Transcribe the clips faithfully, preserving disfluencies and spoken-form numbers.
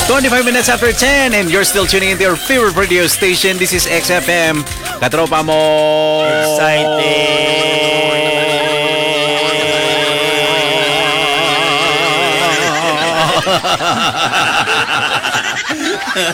Twenty-five minutes after ten, and you're still tuning into your favorite radio station. This is X F M. Katropa mo. Excited.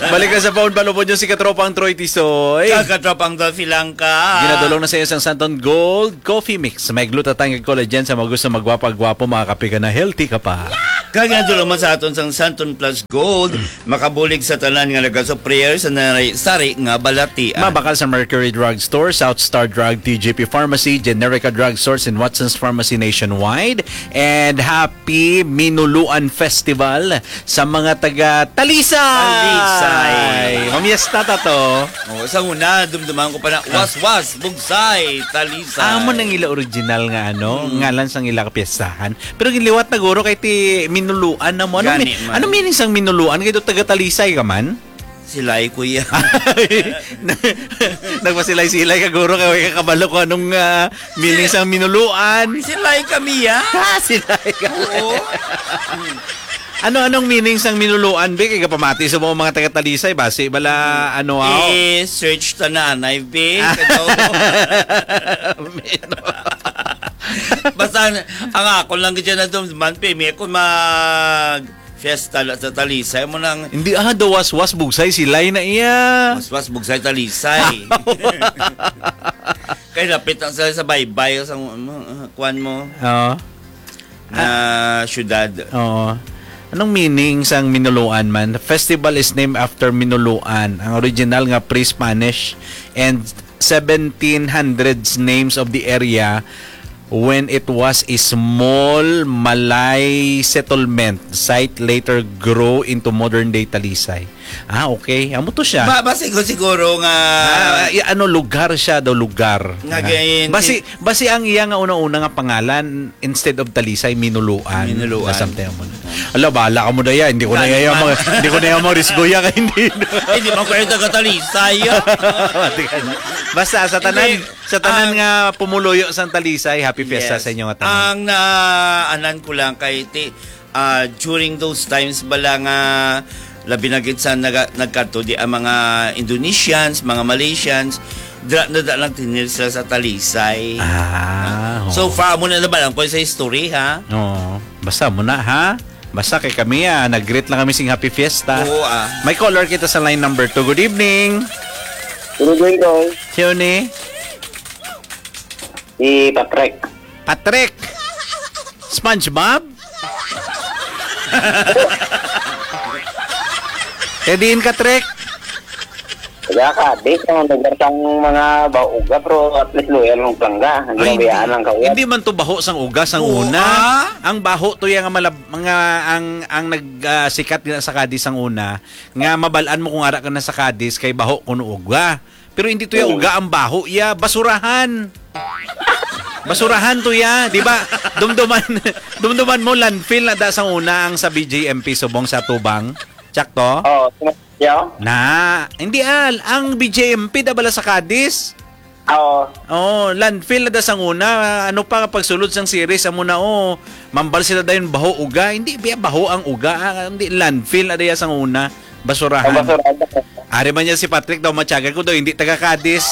Balik na sa phone, palubod nyo si Katropang Troy Tisoy. Kag Katropang Dolphy Langka. Ginadulong na sa iyo sang Santon Gold Coffee Mix. May glutathione kag collagen sa mga gusto magwapa-gwapo, makakape ka na, healthy ka pa. Kag ginadulong man sa aton sang Santon Plus Gold, makabulig sa tanan nga nagasuprayer sa nari-, sari nga balatian. Mabakal sa Mercury Drug Store, South Star Drug, T G P Pharmacy, Generica Drug Stores, and Watson's Pharmacy nationwide. And happy Minuluan Festival sa mga taga Talisay! Talisay. Mamiesta ta to. Oh, sa una, dumduman ko pa na, Ah. Waswas, Bugsay, Talisay. Amo nang ila original nga, ano, Mm. ngalan sang ila kapiestahan. Pero ginliwat na guro kay ti minuluan na mo. Ano Gani mi-, man. ano meaning sang minuluan? Kay do taga Talisay ka man? Silay, kuya. Nagpasilay-silay ka, guro, kay way ka kabalo kung anong, ah, meaning sang minuluan. Silay kami, ya. Ah, silay ka. Oo. Ano, anong meaning sang minuluan, be? Kay kapamati sa mga, mga taga Talisay, basi bala, ano, aw? Eh, search ta na, anay, be. Ah. Kadaw. Minu- Basta, ang ako lang gid na dum-, man, pe, may ako mag-fiesta la sa Talisay mo nang Hindi, ah, daw waswas, bugsay, silay na iya. Waswas, bugsay, Talisay. Kay lapit lang sila sa baybay, sa, ano, ah, kuwan mo. Oo. Na Ah. syudad. Oo. Anong meaning sang Minuluan man? The festival is named after Minuluan, ang original nga pre-Spanish and seventeen hundreds names of the area when it was a small Malay settlement site later grew into modern-day Talisay. Ah, okay. Amo to siya. Ba, ba siguro, siguro nga Ah, i-, ano, lugar siya daw, lugar. Nga Ah. gayon, Basi, si- basi ang iya nga una-una nga pangalan, instead of Talisay, Minuluan. Minuluan. Na something mo na. Ala, bahala ka mo na yan. Hindi ko na Gani yan man. mag-, hindi ko na yan mag-risgo yan, kay hindi. Hindi man kayo taga Talisay. Basta sa tanan, Hindi. sa tanan Ang nga pumuluyo sang Talisay, happy fiesta Yes. sa inyo nga tanan. Ang naanan ko lang kay ti-, ah, during those times bala nga labi na gid sa naga-, nagkadto di ang mga Indonesians, mga Malaysians, dira na da lang tinil sila sa Talisay. Ah, So oo. far, amo na naman ang ko sa history, ha? Oo. Basta mo na, ha? Basta kay kami, ah, nag-greet lang kami sing Happy Fiesta. Oo, ah. May caller kita sa line number two. Good evening. Good evening, Tol. Sino ni? Si Patrick. Patrick! SpongeBob? Kay diin ka, Trek? Taga Cadiz, ang lugar sang mga bauga, pero at least loyal ang plangga. Hindi Ay, hindi. mabayaan ang kawat. Hindi man to baho sang uga sang Oo, una. ah. Ang baho to yung nga malab-, mga, ang, ang nag, ah, sikat nga sa Cadiz sang una, nga mabalaan mo kung ara ka na sa Cadiz, kay baho kuno uga. Pero hindi to yung Oo. uga ang baho, iya, basurahan. Basurahan to, iya, di ba? Dumduman, dumduman mo, landfill na da sang una ang sa B J M P subong sa Tubang. Tsakto? Oo, sino-, yeah. Na, hindi, ah, ang B J M P da bala sa Cadiz. Oo. Oh, landfill na da sang una. Ano pa, pagsulod sang series, amo na, oh, mambal sila dayon baho uga. Hindi, biya baho ang uga, ah, hindi, landfill na da sang una. Basurahan. Ang basurahan. Ari man niya si Patrick daw, matyagan ko daw, hindi taga Cadiz.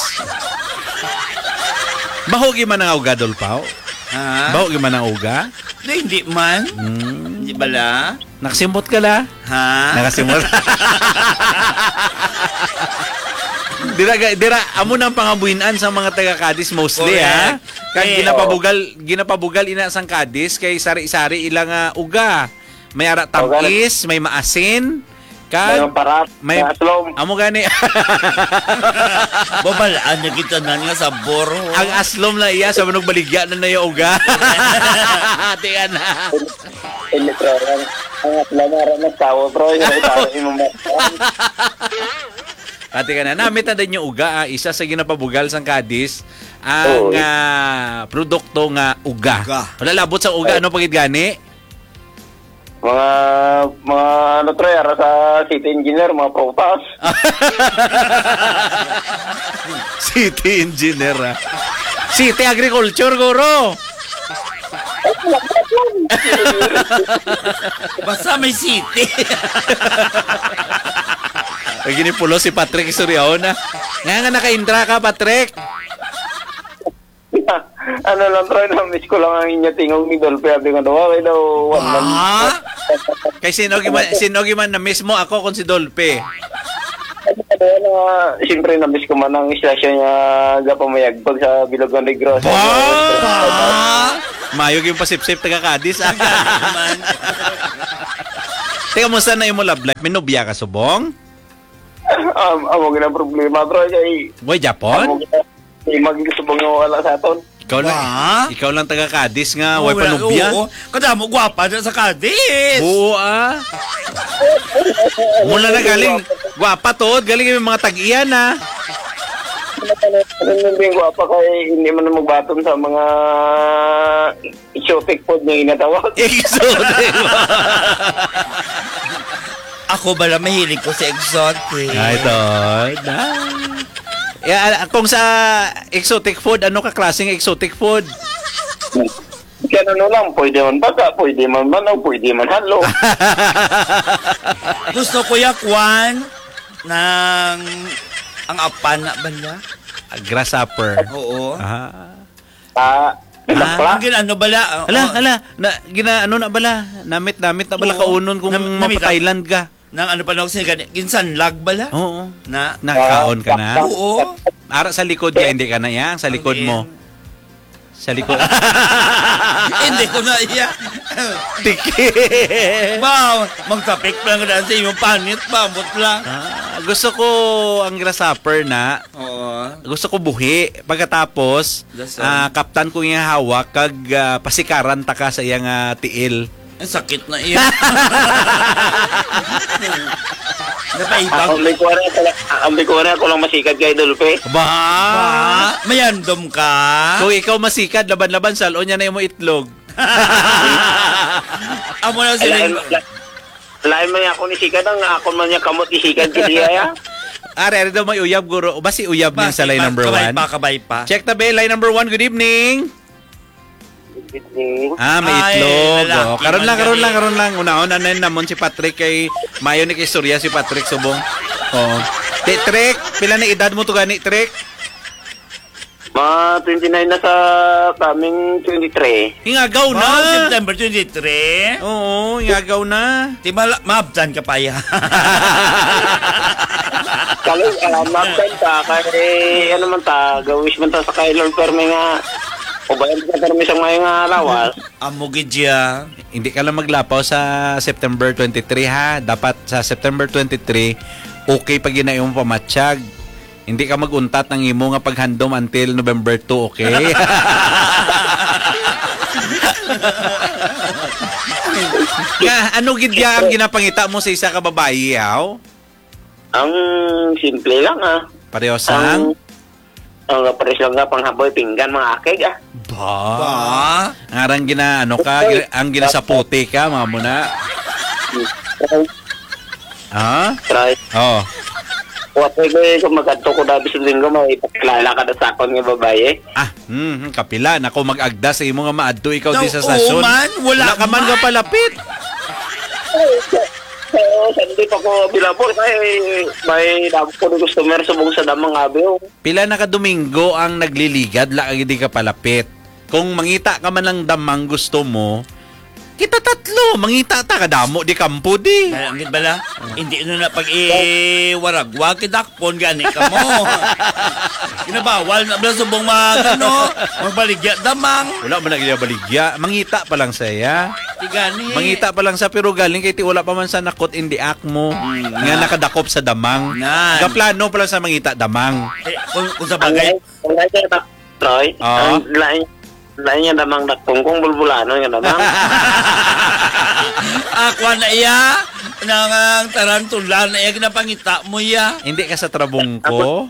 Baho gyud man ang uga, Dolpaw? Ha? Baho gyud man ang uga? Di, hindi man. Hmm. Hindi bala? Nakasimot ka la? Ha? Nakasimot. Dira, ga-, dira, amo nang pangabuhinan sa mga taga Cadiz mostly, ha? Correct. Kag Eh, ginapabugal, ginapabugal ina sang Cadiz kay sari-sari ila nga uga. May ara Oh, gani. tamis, may maasin, kag May parat, may may aslom. Amo gani. Babalaan na kita nan nga sabor, oh. Ang aslom na iya, sa manog baligya na na yung uga. Ate, ana. Ini, bro, ang, ang aslom, ara na tawo, bro, yung tawo, yung mga Ate ka na, namit na din yung uga, ah. Isa sa ginapabugal sang Cadiz, ang, Oo. ah, produkto nga uga. Uga. Wala labot sa uga, Ay. ano pa gid gani? Mga, mga ano, Troy, ara sa city engineer, mga prutas. City engineer, ah. City agriculture, guro. Basta may city. Ay, ginipulo si Patrick Istoryaon, ah. Nga nga naka-Indra ka, Patrick? Ano lang, Troy, na-miss ko lang ang inyo tingog ni Dolphy. Abi nga daw, okay daw, one month. Ah? Kay sino gi man, sino gi man na-miss mo, ako kung si Dolphy? Ano, ano, siyempre, na-miss ko man ang istasyon nga gapamayagpag sa Bilog nga Negros. Ba? Ba? Mayo gyud pasipsip taga Cadiz, ah. Man. Teka, musta na imo love life? May nobya ka, subong? Am-, amo gina problema, bro, kay Boy Japon? Amo gina, di maging subong nga wala sa aton. Ikaw lang, Ba? ikaw lang taga Cadiz nga Oh, way wala, panubya. Oo. Kadamo gwapa na sa Cadiz. Oo, ah. Mula na galing, gwapa to, galing yung mga tag-iya na. Ano yung gwapa kay hindi man magbaton sa mga exotic food nga ginatawag. Exotic. Ako bala mahilig ko sa exotic. Ay, to. Na. Yeah, kung sa exotic food, ano ka klaseng exotic food? Kaya ano lang, pwede man baka, pwede man manok, pwede man halo. Gusto ko ya kwan ng ang apan na bala. Grasshopper. Oo. Ah. Ah, Ah. Ang gin-, ano bala? Ah, Ala, oo. Ala, na, gina, ano na bala? Namit-namit na bala Oo. kaunon kung Nam-, namit-, mapa-Thailand ka. Nang ano pa na ako siya gani, ginsanlag bala? Oo. Na? Nakakaon ka na? Oo. Ara sa likod ka, hindi ka na iya. Sa likod mo. Sa likod. Hindi ko na iya. Tiki. Ba, magtapik lang ka na sa iyong panit, ba? Ambot lang. Ah, gusto ko ang grasshopper na. Oo. Gusto ko buhi. Pagkatapos, Dasal. ah, kaptan ko yung hawak kag, ah, pasikaran ta ka sa iyang, ah, tiil. Ang sakit na iya. Napaibag. Ang bikuan ako lang, ang bikuan ako lang masikad kay Dolphy. Ba? Ba? Mayandom ka? Kung ikaw masikad, laban-laban, salon niya na yung itlog. Amo na sila. Lain, la-, lain man ako ni sikad, ang ako man niya kamot ni sikad, kaya ya. Are, are daw may uyab, guro. O ba si uyab Ba, niya sa line pa, number kabay one? pa, kabay pa. Check the bell, line number one. Good evening. Good evening. Ah, may Ay, itlog. lalaki Oh, karon man lang, karon gani. lang, karon lang. Unahon na namon si Patrick kay mayo ni kay istorya si Patrick subong. Oh. Ti Trick, pila na edad mo to gani, Trick? Ma, twenty-nine na sa coming twenty-three. Ingagaw na. Wow, September twenty-three. Oo, ingagaw na. Di ba la-, maabtan ka pa, ya? Kali, ah, maabtan ka, kay, ano man ta, gawis man ta sa kay Lord Permi nga, ubayan sa permi sa may nga lawas. Amo gid ya. Hindi ka lang maglapaw sa September twenty-three, ha. Dapat sa September twenty-three, okay pa gina imong pamatyag. Hindi ka mag-untat ang imo nga paghandom until November two, okay? Nga, ano gid ya ang ginapangita mo sa isa ka babayi, haw? Ang simple lang, ah. Pareho sang? Ang, ang pares lang nga panghaboy pinggan, mga akig, ah. Ba? Ba? Ang arang gina, ano ka, Oy. gina-, ang ginasaputi ka, mga muna. Ha? Try. Oh. Wa pa ko, eh, kung magkadto ko na bisag linggo, may ipakilala ka na sa akon nga babayi. Ah, hmm, kapila na ko mag-agda sa imo nga maadto ikaw No, di sa oo stasyon. man, wala Wala ka man man. nga palapit. Oo, sa, sa Sunday pa ko available kay may damo ko ni customer subong sa damang abi, oh. Pila na ka Domingo ang nagliligad, la ka gid ka palapit. Kung mangita ka man lang damang gusto mo, kita tatlo, mangita ta, kadamo di kampo di. Dahil ang gid bala, hindi na na pag-iwaragwag, kidakpon gani ka mo. Ginabawal na bala subong mag, ano, magbaligya damang. Wala man na gid baligya. Mangita pa lang saya. Di gani. Mangita pa lang sa, pero galing kay ti wala pa man sa nakot indi akmo Mm, nga na. nakadakop sa damang. Nan. Gaplano pa lang sa mangita damang. Eh, kung, kung sa Ang bagay. lain, ang lain niya, Troy, Ah. ang lain, lain niya damang dakpong kung bulbulano nga damang. Ah, kuha na iya. Nang ang tarantula na iya, ginapangita mo iya. Hindi ka sa trabungko?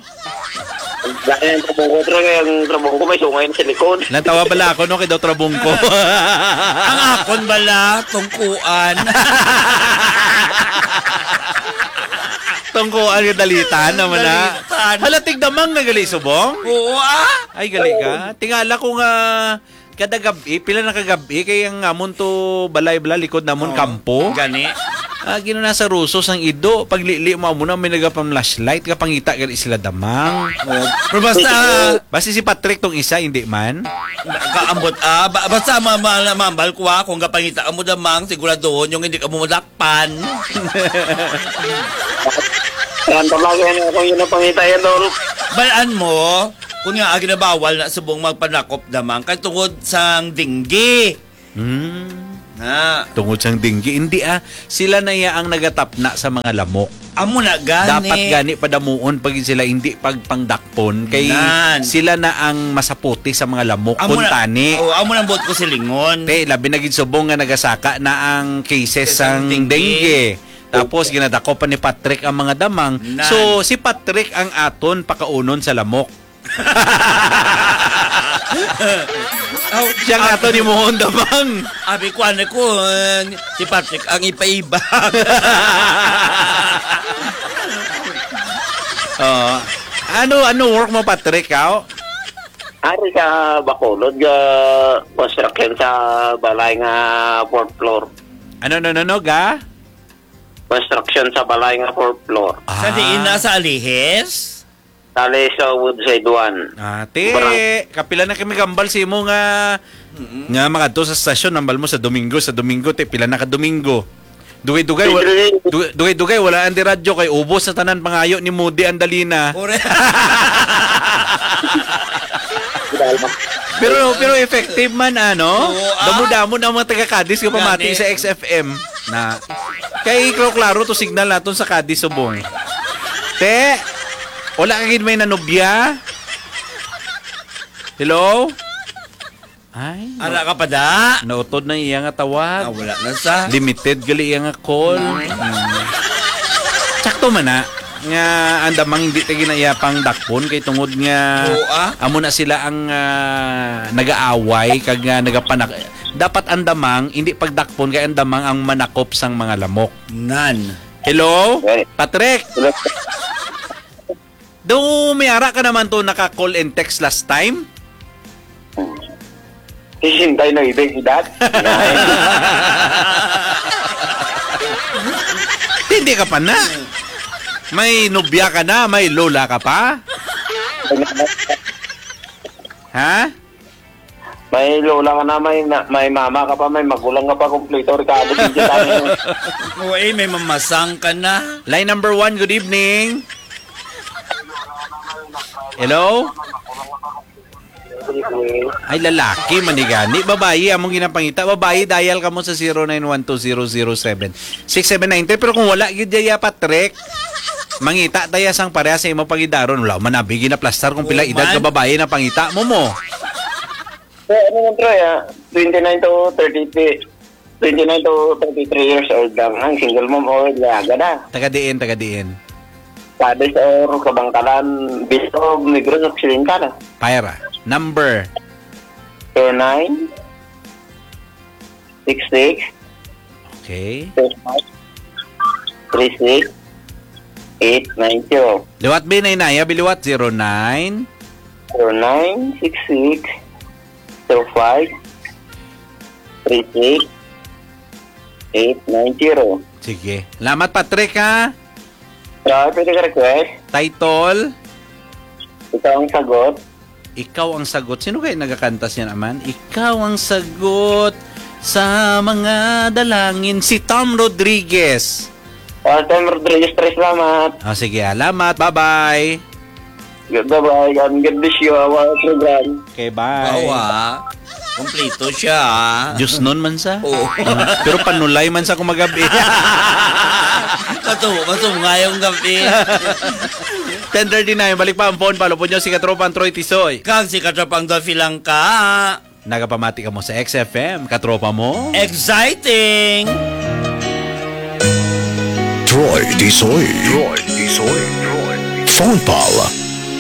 Lain ang trabungko, Troy, ang trabungko may sungay na sa likod. Natawa bala ako, no, kay daw trabungko. Ang akon bala, tungkuan. Tungkuan nga dalitan naman na. Dalitan. Hala, tigdamang na gali, subong? Oo, ah. Ay, gali ka. Tingala ko nga, Kada gab-i, pila na ka gab-i, kay ang amon to balay bala, likod namon Oo. kampo. Gani. Ah, ginuna sa rusos ang ido, paglili mo amo na may nagapang flashlight, kapangita gali sila damang. Oo. Pero basta, Basta si Patrick tong isa, hindi man. Kaambot, ah, ba- basta ma- ma- mambal ko, ah, kung kapangita mo damang, siguraduhon yung hindi ka mo madakpan. Yan talaga yan, kung yun ang pangita yan, Dol. Balaan mo, kung nga, ah, ginabawal na subong magpanakop damang, kay tungod sang dinggi. Hmm. Na. Tungod sang dinggi. Hindi, ah. Sila na ya ang nagatapna sa mga lamok. Amo na gani. Dapat gani padamuon pa gid sila, hindi pagpangdakpon. Kay Nan. sila na ang masaputi sa mga lamok. Amo na, Kuntani. oh, amo nang buot ko silingon. Te, labi na gid subong nga nagasaka na ang cases Sa sang dengue. dengue. Tapos ginadako pa ni Patrick ang mga damang. Nan. So, si Patrick ang aton pakaunon sa lamok. Aw, Siya nga to ni Mohon Damang. Abi ko, ano ko, eh, si Patrick ang ipaibag. Oo. Ano, ano work mo, Patrick, aw? Ari sa Bacolod, ga construction sa balay nga fourth floor. Ano, no, no, no, ga? Construction sa balay nga fourth floor. Sa diin na, Ah. sa Alihis? Tali sa Woodside one. Ate, Barang- kapila na kami gambal sa imo nga, Mm-mm. nga makadto sa stasyon, nambal mo sa Domingo, sa Domingo, te, pila na ka Domingo? Dugay-dugay, wa-, Pwede. dugay-dugay, wala ang di radyo kay ubos sa tanan pangayo ni Moody ang dalina. Ore. Pero, pero effective man, ano? Oo, ah. Damo-damo na ang mga taga Cadiz nga pamati Gani. sa X F M. Na, kay klaro-klaro to signal naton sa Cadiz subong. Te, wala ka gid may nanubya? Hello? Ay, Ara ka pa da? nautod na iya nga tawag. Ah, wala na sa. Limited gali iya nga call. Mm. Mm. Sakto man na nga ang damang hindi ta ginaiya pang dakpon kay tungod nga Oo, ah. amo na sila ang, ah, nagaaway kag nga nagapanak-, dapat ang damang hindi pagdakpon kay ang damang ang manakop sang mga lamok. Nan. Hello? Hey. Patrick? Hello. Do may ara ka naman to naka-call and text last time? Sixty-nine na edad. Hindi ka pa na. May nobya ka na, may lola ka pa? Ha? May lola ka na, may na-, may mama ka pa, may magulang ka pa, kompleto, Ricardo, hindi tayo. Oo, eh, may mamasang ka na. Line number one, good evening. Hello? Ay, lalaki man ni gani. Babayi, among ginapangita. Babayi, dial ka mo sa zero nine one two zero zero seven six seven nine three. Pero kung wala, gid ya, Patrick, mangita taya sang pareha sa imo pagidaron. Wala man abi ginaplastar kung pila Oo, edad man. ka babayi na pangita mo mo. So, ano man, Troy, ah? Twenty-nine to thirty-three, twenty-nine to thirty-three years old lang. Ang single mom or dalaga na. Taga diin, taga diin? Cadiz or Kabangkalan, Bilog, Negros Occidental. Paira. Number? Zero nine, six six, Okay. Three six, eight nine zero. Liwat, Bin, ay naya, biliwat, zero nine. Zero nine six six zero five three six eight nine zero. Sige. Salamat, Patrick, ha? Ah, pwede ka request? Title? Ikaw ang sagot. Ikaw ang sagot. Sino kaya nagakanta siya naman? Ikaw ang sagot sa mga dalangin. Si Tom Rodriguez. Ah, Tom Rodriguez, Tres, salamat. Ah, sige, alamat. Bye-bye. Bye-bye. God, God bless you, our program. Okay, bye. Awa. Kompleto siya, ah. Diyos nun man sa. Oo. Pero panulay man sa kumagabi. Katubo, katubo ngayong gabi. Ten thirty-nine, balik pa ang phone. Palupod nyo si Katropang Troy Tisoy. Kag si Katropang Dolphy lang ka. Nagapamati ka mo sa X F M, katropa mo. Exciting! Troy Tisoy. Troy Tisoy. Phone Pal.